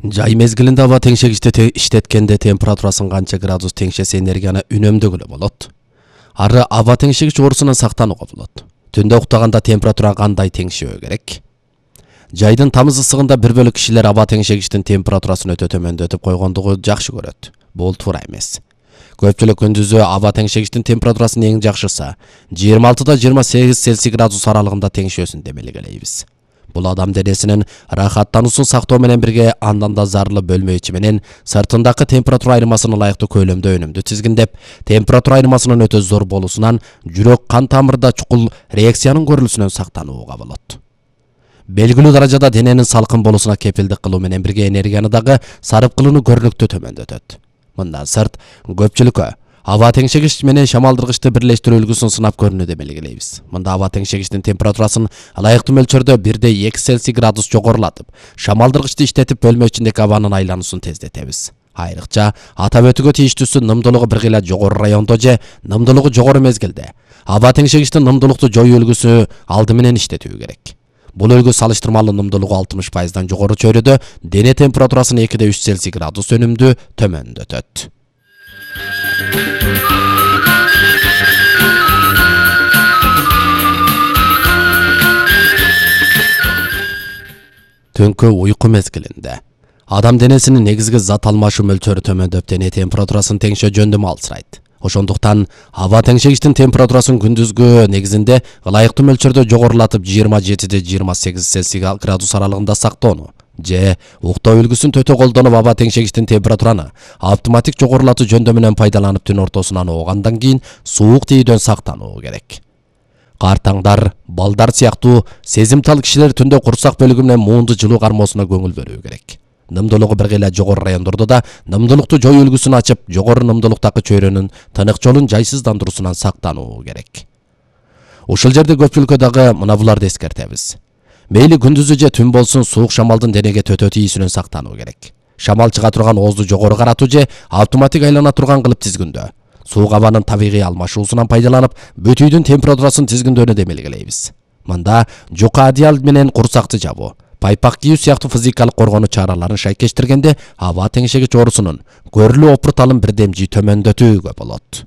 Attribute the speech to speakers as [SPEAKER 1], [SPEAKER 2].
[SPEAKER 1] Жай мезгилинде аба теңшегичти иштеткенде температурасын канча градус теңшесе энергияны үнөмдөгүлө болот. Ары аба теңшегич оорусунан сактанууга болот. Түндө уктаганда температура кандай теңшебөө керек? Жайдын тамыз ысыгында бир бөлүк кишилер аба теңшегичтин температурасын өтө төмөндөтүп койгондугу жакшы көрөт. Бул туура эмес. Көпчүлүк күндүзү аба теңшегичтин температурасын эң жакшысы 26-28 Цельсий градус аралыгында теңшөөсүн демелегелейбиз. Бул адам денесинин рахаттануусун сактоо менен бирге андан да зарылы бөлмө ичи менен сыртындагы температура айырмасын ылайыктуу көлөмдө өнүмдү тизгиндеп, температура айырмасынын өтө зор болуусунан жүрөк кан тамырда чукул реакциянын көрүлүшүнөн сактанууга болот. Белгилүү даражада дененин салкын болуусуна кепилдик кылуу менен бирге энергияны дагы сарып кылууну көрүнүктүү төмөндөтөт. Мындан сырт, көпчүлүккө аба теңшегич менен шамалдыргычты бирлештирүү үлгүсүн сынап көрүүнү демелегелейбиз. Мында аба теңшегичтин температурасын ылайыктуу мөлчөрдө 1,2 Цельсий градус жогорулатып, шамалдыргычты иштетип бөлмө ичиндеги абанын айлануусун тездетебиз. Айрыкча атап өтүүгө тийиштүүсү нымдуулугу бир кыйла жогору райондо же нымдуулугу жогору мезгилде аба теңшегичтин нымдуулукту жоюу үлгүсү алды менен иштетүү керек. Бул үлгү салыштырмалуу нымдуулугу 60%дан жогору чөйрөдө дене температурасын 2,3 Цельсий градус өнүмдүү төмөндөтөт. Түнкү уйку мезгилинде адам денесинин негизги зат алмашуу мөлчөрү төмөндөп, дене температурасын теңшөө жөндөмү алсырайт. Ошондуктан аба теңшегичтин температурасын күндүзгү негизинде ылайыктуу мөлчөрдө жогорулатып 27-28 Цельсий градус аралыгында сактоону же уктоо үлгүсүн төтө колдонуп аба теңшегичтин температураны автоматик жогорулатуу жөндөмүнөн пайдаланып түн ортосунан оогандан кийин суук тийүүдөн сактануу керек. Картаңдар, балдар сыяктуу сезимтал кишилер түндө курсак бөлүгү менен муунду жылуу кармоосуна көңүл бөлүү керек. Нымдуулугу бир кыйла жогору райондордо да нымдуулукту жоюу үлгүсүн ачып, жогору нымдуулуктагы чөйрөнүн тынык жолун жайсыздандыруусунан сактануу керек. Ушул жерде көпчүлүккө дагы мына буларды эскертебиз. Мейли күндүзү же түн болсун, суук шамалдын денеге төтө тийүүсүнөн сактануу керек. Шамал чыга турган оозду жогору каратуу же автоматик айлана турган кылып тизгиндөө. Суук абанын табигый алмашуусунан пайдаланып, бүтүйдүн температурасын тизгиндөөнү демелегелейбиз. Мында жука одеял менен курсакты жабуу, пайпак кийүү сыяктуу физикалык коргонуу чараларын шайкештиргенде аба теңшегич оорусунун көрүлүү опурталын бирдемжий төмөндөтүүгө болот.